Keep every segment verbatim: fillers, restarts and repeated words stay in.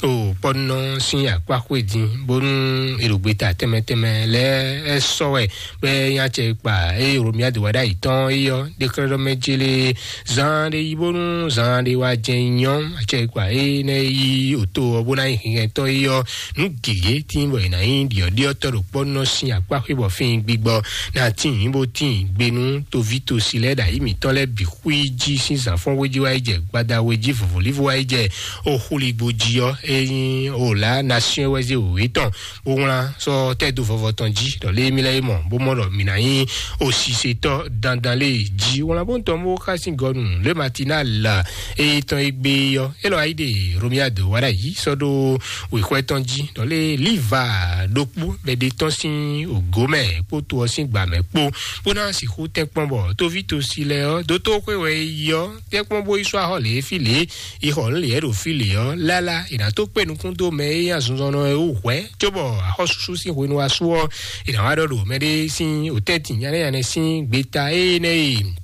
O kpɔnɔ sín akpá xwé din bónú è ɖo gbeta tɛnmɛ tɛnmɛ lɛ́ɛ ɛ sɔ́ wɛ bɔ é nyí acɛ kpa eye Romia do wá ɖ'ayǐ tɔn é yɔ ɖéklɛ́ɖɔmɛ célé zan ɖé yí bónú zan ɖé wá jɛ nyɔ acɛ kpa é nɛ yí òto ɔ́ bó ná nyí hinhɛntɔ́ é yɔ nú gěgé tín bɔ è nǎ nyí ɖiɔɖiɔtɔ́ ɖo kpɔnɔ sín akpá xwé bɔ fín gbigbɔ ná tín bó tín gbe nú toví tosi lɛ́ɛ ɖo ayǐ mǐtɔn lɛ́ɛ bǐ xwí jí sín zǎnfɔ́n wé jí wá yi jɛ gbada wé jí vɔ̌vɔ́lífɔ wá yi jɛ oxulígbo jí ɔ́ é nyí òlá nasiɔn wɛ zé wěwé tɔn bó wlán sɔ́ tɛ́ dó vɔvɔ tɔn jí ɖɔ lé mí lɛ́ é mɔ bó mɔ ɖɔ mǐ ná nyí osisetɔ́ dandan lé jí wlán bó ń tɔn bó xá sín gɔnu lé matinal é tɔn é gbé ɔ́ é lɔ ayí ɖe Romiado wá ɖ'ayǐ sɔ́ ɖó wěxwɛ́ tɔn jí ɖɔ lé líva ɖokpó bɛ́ ɖe tɔn sín ògó mɛ kpó to ɔ́ sín gbǎ mɛ kpó bó ná sixú tɛ́nkpɔ́n bɔ tóví tosi lɛ ɔ́ dótó xwé wɛ é yi ɔ́ tɛ́nkpɔ́n bó yi sɔ́ axɔ́ lě fí lě yi xɔ nǔ lě ɖo fí lě ɔ́ lálá è nǎ tó kpé nukún dó mɛ e nyí azinzɔnnɔ e wú hwɛ̌ cóbɔ axɔ́súsú sín hwenu wá sú ɔ́ è nǎ wá ɖɔ ɖo mɛɖé sín òtɛ́ntin nyánɛ́nyánɛ sín gbeta énɛ́ e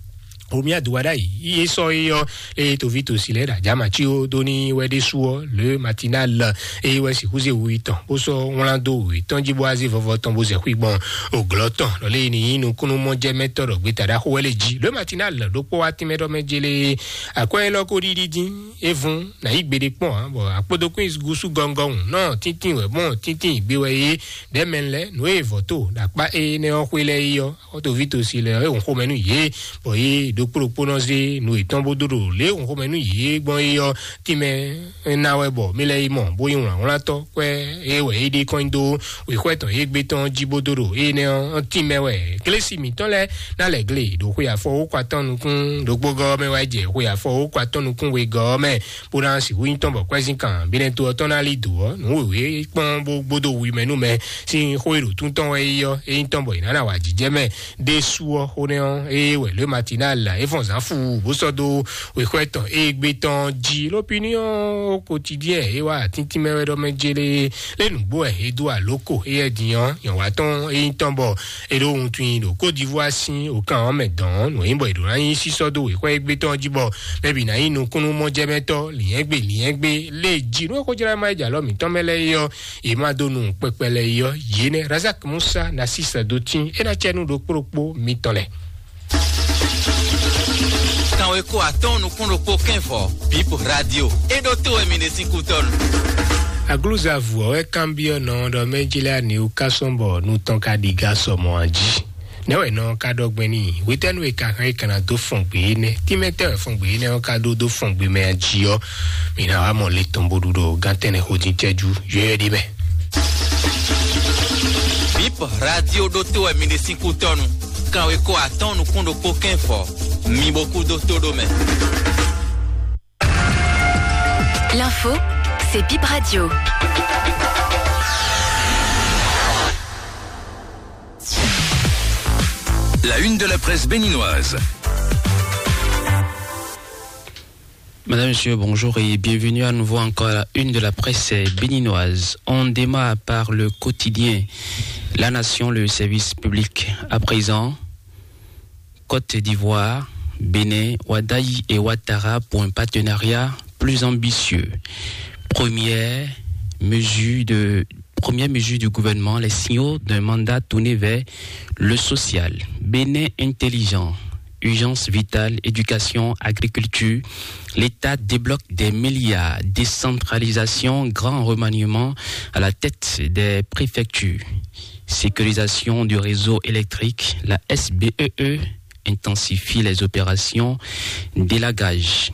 Romia do wá ɖ'ayǐ yí é sɔ́ é ɔ́ eye toví tosi lɛ́ɛ ɖo ajǎ mací ó dó ní wɛ ɖésú ɔ́ le matinal eye wɛ sixú zé wu tɔn bó sɔ́ wlán dó wětɔn jí bó wá zé vɔvɔ tɔn bó zɛ xwí gbɔn òglɔ́ tɔn lɔ lé ní nyí nukúnnú mɔjɛmɛtɔ́ ɖɔ gbeta ɖaxó wɛ lé jí le matinal ɖokpó wá tínmɛ ɖɔ mɛ jélé akwɛ́ élɔ́ ko ɖiɖi dín é vún nǎ yí gbeɖé kpɔ́n ǎ bɔ akpódókún gúsú gɔngɔn nɔ tíntín wɛ mɔ tíntín gbé wɛ é ɖɛ́mɛ lɛ́ nǔ e vɔ̌ to ɖo akpá énɛ́ ɔ́ xwé lɛ́ɛ é ɔ́ xɔ́tɔ́ví tosi lɛ é hɔn xomɛ nú yě bɔ yě ɖokpó ɖokpó nɔ zé nǔ yětɔn bó dó ɖo lě e hɔn xomɛ nú yě gbɔn é ɔ́ tínmɛ ná wɛ bɔ mí lɛ́ yi mɔ bó nyí wlǎnwlántɔ́ kwɛ́ é wɛ é ɖe kɔn nyi dó wěxwɛ́ tɔn é gbé tɔn jí bó dó ɖo énɛ́ ɔ́ tínmɛ wɛ. Glesi mǐtɔn lɛ́ɛ ná lɛ̌ gle ɖo xwe afɔ wókɔ atɔ́ nukún ɖokpó gɔ́ ɔ́ mɛ wá jɛ xwe afɔ wókɔ atɔ́ nukún wegɔ́ ɔ́ mɛ bó ná sixú nyí tɔn bɔ kwɛ́zínkan bínɛ́ to ɔ́ tɔn ná lí dǒ ɔ́ nǔ wěwé kpɔ́n bó gbódó wi mɛ nú mɛ sín xó e ɖo tún tɔn wɛ é yí ɔ́ é nyí tɔn bɔ è nǎ ná wa jǐjɛ mɛ ɖésú ɔ́ xó nɛ́ ɔ́ ée wɛ lě matinal é fɔn zǎn fu bó sɔ́ dó wěxwɛ́ tɔn é gbé tɔn jí lópiniɔn kotidiɛn é wá atíntín mɛ wɛ ɖɔ mɛ jélé lé nǔgbó wɛ é dó alóko éyɛ́ din ɔ́ nyɔ̌wá tɔn é nyí tɔn bɔ é ɖó wuntun nyi ɖo Côte d'Ivoire sín òkan ɔ́ mɛ dɔn nǔ e nyí bɔ è ɖǒ ná nyí sísɔ́ dó wěxwɛ́ égbé tɔn jí bɔ mɛ bǐ ná nyí nukúnnú mɔjɛmɛtɔ́ lǐnyɛ́gbé lǐnyɛ́gbé lé jí nú é xó jlá má yi jɛ alɔ mǐtɔn mɛ lɛ́ɛ é ɔ́ yě má dó nu kpɛkpɛ lɛ́ɛ é ɔ́ yě nɛ́ Razak Musa ná sísɛ dó tín é ná cɛ nú ɖokpó ɖokpó mitɔn lɛ́ɛ. Kanweko atɔ́ɔ́n nukún ɖokpó kɛ́nfɔ Bip Radio é ɖó tó wɛ mi ɖe sín kútɔ́nu. Aglúzavǔ ɔ́ wɛ kanbyɔ́ nɔ ɖɔ mɛ jí lɛ́ɛ aniwú ká sɔ́n bɔ nu tɔn ka ɖi gá sɔ mɔ̌ a jí. Nɛ̌ wɛ nɔ ka ɖɔ gbɛn n'i? Hwetɛ́nu e ka hɛn e ka ná dó fɔn gbě énɛ́? Tínmɛ tɛ́ wɛ fɔn gbě énɛ́ ɔ́ ka ɖó dó fɔn gbě mɛ a jí ɔ́? Mi ná wá mɔ le tɔn bó ɖu ɖo gán tɛnɛ xo dín cɛ́jú yɔ́yɔ́ ɖé mɛ. Bip Radio ɖó tó wɛ mi ɖe sín kútɔ́nu. Kanweko atɔ́ɔ́n nukún ɖokpó kɛ́nfɔ. Mi bo kú dó tó ɖó mɛ. L'info, c'est Bip Radio. La une de la presse béninoise. Madame, Monsieur, bonjour et bienvenue à nouveau encore à la une de la presse béninoise. On démarre par le quotidien La Nation, le service public. À présent, Côte d'Ivoire, Bénin, Wadayi et Ouattara pour un partenariat plus ambitieux. Première mesure de, première mesure du gouvernement, les signaux d'un mandat tourné vers le social. Bénin intelligent, urgence vitale, éducation, agriculture. L'État débloque des milliards. Décentralisation, grand remaniement à la tête des préfectures. Sécurisation du réseau électrique, la S B E E intensifie les opérations d'élagage.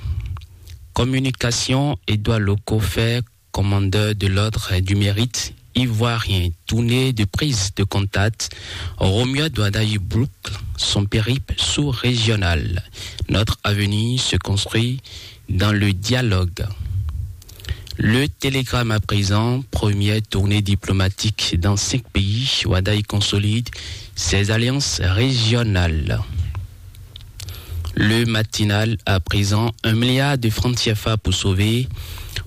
Communication, Édouard Loco fait commandeur de l'ordre du mérite ivoirien, tournée de prise de contact. Romuald Wadagni boucle son périple sous-régional. Notre avenir se construit dans le dialogue. Le Télégramme à présent, première tournée diplomatique dans cinq pays. Wadagni consolide ses alliances régionales. Le Matinal à présent, un milliard de francs C F A pour sauver,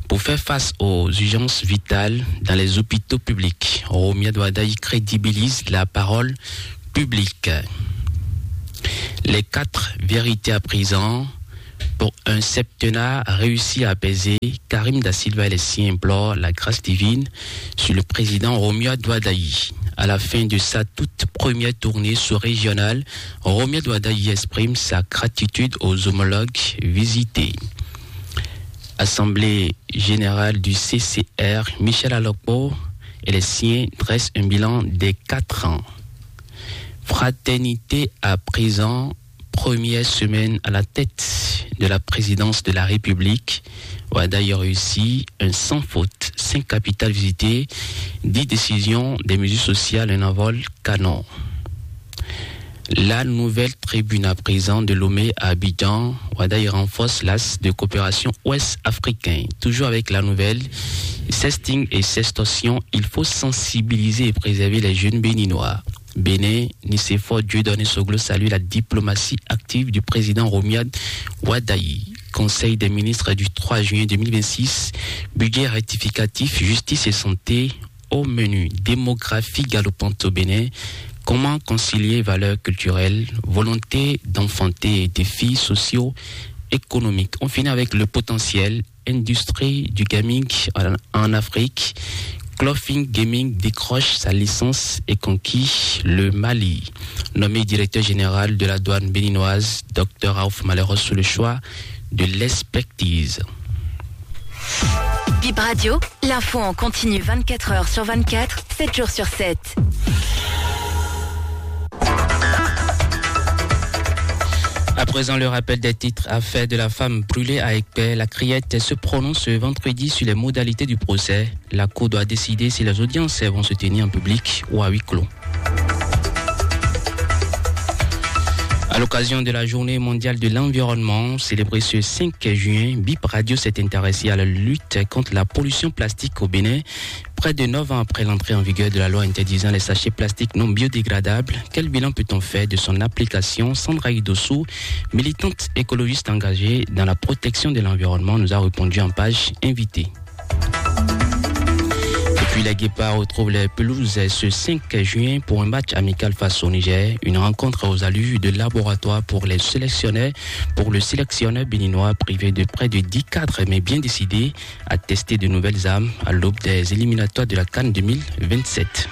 pour faire face aux urgences vitales dans les hôpitaux publics. Romuald Wadagni crédibilise la parole publique. Les quatre vérités à présent, Un septennat réussi à apaiser. Karim Da Silva et les siens implorent la grâce divine sur le président Romuald Wadagni. À la fin de sa toute première tournée sous-régionale, Romuald Wadagni exprime sa gratitude aux homologues visités. Assemblée générale du C C R, Michel Alokpo et les siens dressent un bilan des quatre ans. Fraternité à présent, première semaine à la tête de la présidence de la République. Wadagni réussit un sans faute, cinq capitales visitées, dix décisions, des mesures sociales, un envol canon. La nouvelle tribune à présent de Lomé à Abidjan, Wadagni renforce l'axe de coopération ouest-africaine. Toujours avec la nouvelle, sexting et sextorsion, il faut sensibiliser et préserver les jeunes béninois. Bénin, Nicéphore Dieudonné Soglo salue la diplomatie active du président Romuald Wadagni. Conseil des ministres du trois juin deux mille vingt-six, budget rectificatif, justice et santé au menu. Démographie galopante au Bénin, comment concilier valeurs culturelles, volonté d'enfanter et défis socio-économiques. On finit avec le potentiel industrie du gaming en, en Afrique. Clothing Gaming décroche sa licence et conquit le Mali. Nommé directeur général de la douane béninoise, Dr Raouf Malheros sous le choix de l'expertise. Bip Radio, l'info en continu vingt-quatre heures sur vingt-quatre, sept jours sur sept. À présent, le rappel des titres. Affaire de la femme brûlée à Aiguepère, la Criette se prononce ce vendredi sur les modalités du procès. La Cour doit décider si les audiences vont se tenir en public ou à huis clos. À l'occasion de la journée mondiale de l'environnement, célébrée ce cinq juin, Bip Radio s'est intéressé à la lutte contre la pollution plastique au Bénin. Près de neuf ans après l'entrée en vigueur de la loi interdisant les sachets plastiques non biodégradables, quel bilan peut-on faire de son application ? Sandra Idossou, militante écologiste engagée dans la protection de l'environnement, nous a répondu en page invitée. Et puis les Guépards retrouvent les pelouses ce cinq juin pour un match amical face au Niger. Une rencontre aux allures de laboratoire pour les sélectionneurs, pour le sélectionneur béninois privé de près de dix cadres, mais bien décidé à tester de nouvelles armes à l'aube des éliminatoires de la CAN deux mille vingt-sept.